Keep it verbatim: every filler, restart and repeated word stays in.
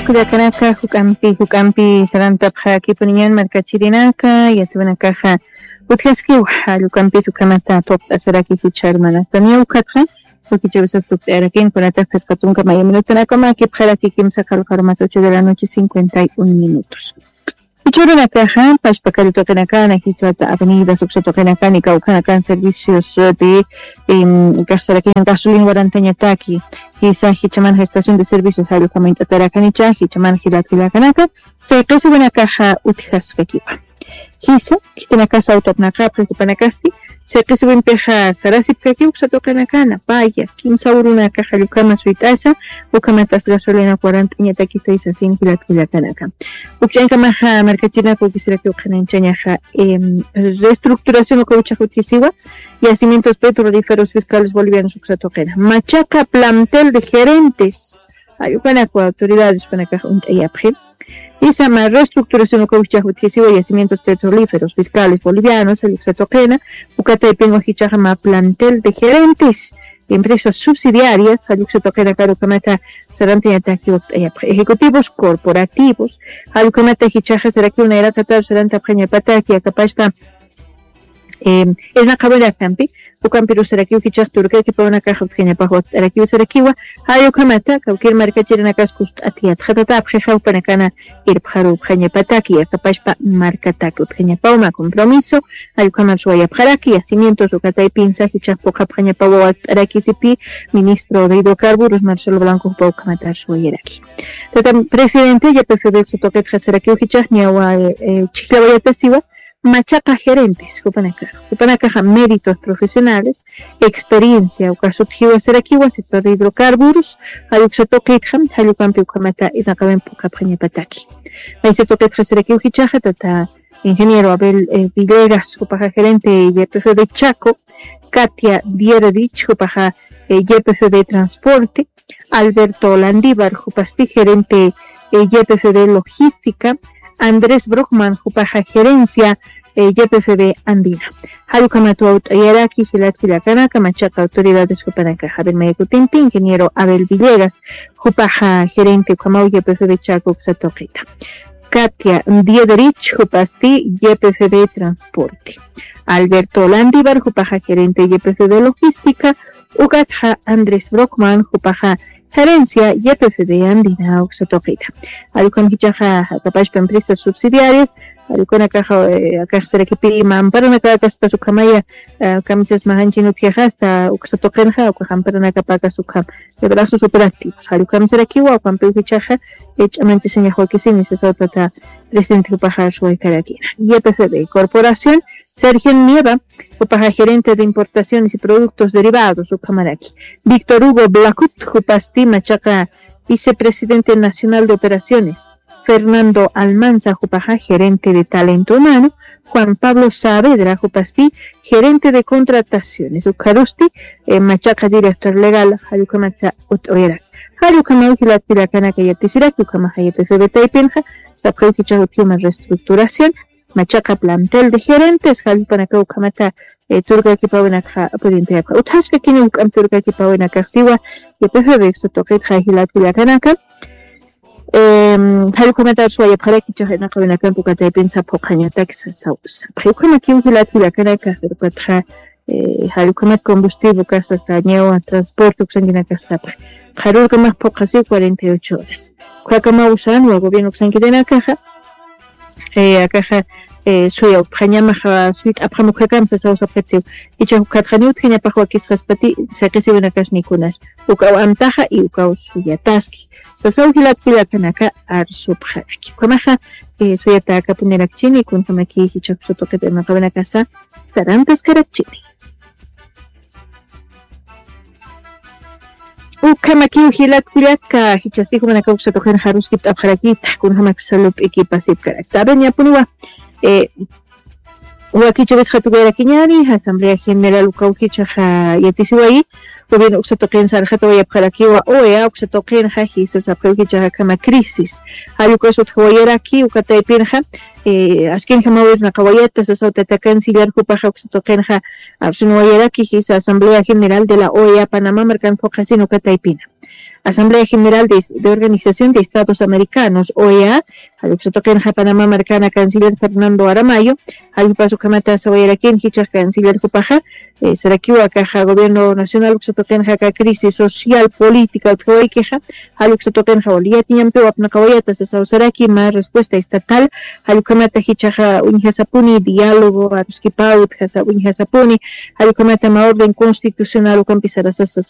Kullakanaka, juk'ampi juk'ampi sarantapxakipuniñan markachirinaka, yatiwanakaxa utjaskiw, jall ukampis ukhamata tuqt'asaraki jichha hermanastaniya ukhatxa. Ukichawisas tuqt'ayarakin kunataq phisqa tunka maya minutanakama kipxaraki kimsa qalqarumata ocho de la noche cincuenta y un minutos. Ichurunakaxa pashpa kallituqinakana jisata avenidas uksatuqinakani kawkhanakan servicios de kaxsarakin gasolin warantañataki, jisa jichamanxa estación de servicios jallukama int'atarakanicha jichaman jilatkillakanaka. Sayqisiwinakaxa utjaskakiwa. Jisa khitinakasa awtapnaqapxi jupanakasti sayqisiwimpixa sarasipkakiw uksatuqinakana paya kimsa urunakaxa jallukama suyt'asa. Ukamatas gasolina cuarant'añataki saysasin jilatkillakanaka. Ukch'ankamaxa markachirinaka ukisirakiw qhanañchañaxa reestructuración uka uchax utjisiwa. Yacimientos petrolíferos fiscales bolivianos uksatuqina machaqa plantel de gerentes, jallukanaku autoridades panakax uñt'ayapxi. Jisa mä reestructuración uka uchax utjisiwa yacimientos petrolíferos fiscales bolivianos jalluksa tuqina. Uka taypinwa jichaxa mä plantel de gerentes empresas subsidiarias jalluksa tuqinakar ukamata sarantañataki ukt'ayapxi ejecutivos corporativos. Jallukhamata jichaxa sarakiw nayraqatar sarantapxañapataki akapashpa irnaqawirakampi. Ukampirusarakiw jichax turkakipawanakax utjañapax wakt'arakiw sarakiwa. Jallukhamata kawkir markachirinakas kust'atiyatxatatapxi jawpanakana irpxarupxañapataki akapashpa markataki utjañapawma compromiso. Jallukhamar suwayapxaraki yacimientos ukataypinsa jichax puqapxañapawa wakt'araki sipi ministro de hidrocarburos marcelo blanco jupa ukhamatar suwayaraki. Tata presidente ypfb uksatuqitxa sarakiw jichax ñawa chhijllawayatasiwa machaqa gerentes jupanakax jupanakaxa méritos profesionales experiencia uka sutjiwa sarakiwa sector de hidrocarburos. Jalluksa tuqitxa jallukampi ukhamata irnaqawin puqapxañapataki. Maysa tuqitxa sarakiw jichaxa tata ingeniero abel villegas jupaxa gerente ypfb chaco, katia dieredich jupaxa ypfb transporte, alberto landívar jupasti gerente ypfb logística, andrés brockman jupaxa gerencia ypfb andina. Jallukhamat wawt'ayaraki jilatkillakanaka machaqa autoridades jupanakaxa abel mayakutimpi ingeniero abel villegas jupaxa gerente ukhamaw ypfb chaco uksa tuqita. Katia diederich jupasti ypfb transporte, alberto landívar jupaxa gerente ypfb logística, ukatxa andrés brockman jupaxa gerencia ypfb andina uksa tuqita. Jallukhan jichaxa jakapashpa empresas subsidiarias jallukhanakaxa akaxsarakipi mamparanakakas pasukhamaya kamisas majanchin utjiaxasta uksa tuqinxa ukaxamparanakapakas ukham. Libraxsus operativos jallukhamsarakiwa ukampiw jichaxa ch'amanchisañaxwakisini sasawtata presidente jupaxa suwaykarakina. Ypfb corporación, sergio nieva jupaxa gerente de importaciones y productos derivados ukhamaraki. Víctor hugo blacut jupasti machaqa vicepresidente nacional de operaciones, fernando almanza jupaxa gerente de talento humano, juan pablo saavedra jupasti gerente de contrataciones ukharusti machaqa director legal jallukhamatsa ut'uyarak. Jallukhamawji latkillakanaka yatisiraki ukhamaxa ypfb taypinxa sapxiw jichax utjiw mä reestructuración machaqa plantel de gerentes jallpanakaw ukhamata turkakipawinakxa pudintayapxa utjaskakini uk'ampi turkakipawinakaxsiwa. Ypfb uksa tuqitxa jilatkillakanaka jallukhamata suwayapxaraki jichax irnaqawinakampi uka taypin sapxuqañatak sasaw sapxi ukhamakiw jilatkillakanaka ukatxa jallukhamat combustible ukas asta ñawa transporte uksankinakax sapxi. Qharurkamax phuqhasiw cuarenta y ocho horas ukhakamawsanwa gobierno uksankirinakaxa akaxa suyawpxañamaxa suyt'apxam ukhakam sasaw sapxitsiw. Ichax ukhatxaniw utjañapax wakisqaspati saqisiwinakas nikunas ukaw amtaxa y ukaw suyataski sasaw jilatkullakanaka arsupxaraki ukhamaxa. Suyatakapunirakichini kunjamakiy jichax uksatuqit irnaqawinakasa sarantaskarakchini. Ukhamakiw jilatkullaka jichhasti jumanakaw uksatuqinxa aruskipt'apxarakita kunjamaksa lup'ikipasipkarakta aven yapuniwa. Wakichawis jatukayarakiñani asamblea general ukaw jichhaxa yatisiwayi. Gobierno uksatuqinsa arxatawayapxarakiwa oea uksatuqinxa jisa sapxiw jichhaxa akhama crisis. Jallukasutjawayaraki uka taypinxa askinjamaw irnaqawayata sasaw tata canciller jupaxa uksatuqinxa arsunwayaraki jisa asamblea general de la oea panamá markan phuqhasin uka taypina. Asamblea General de Organización de Estados Americanos, oea, jalluksa tuqinxa Panamá markana canciller Fernando Aramayo, jallukpas ukhamata sawayarakin jichhax canciller jupaxa, sarakiwa kaxa gobierno nacional uksa tuqinxa aka crisis social política utjawaykixa, jalluksa tuqinxa wali yatiñampiw apnaqawayata sasaw saraki mä respuesta estatal, jallukhamata jichhaxa uñjasapuni diálogo aruskipaw utjasa uñjasapuni, jallukhamata mä orden constitucional ukampisarasasa.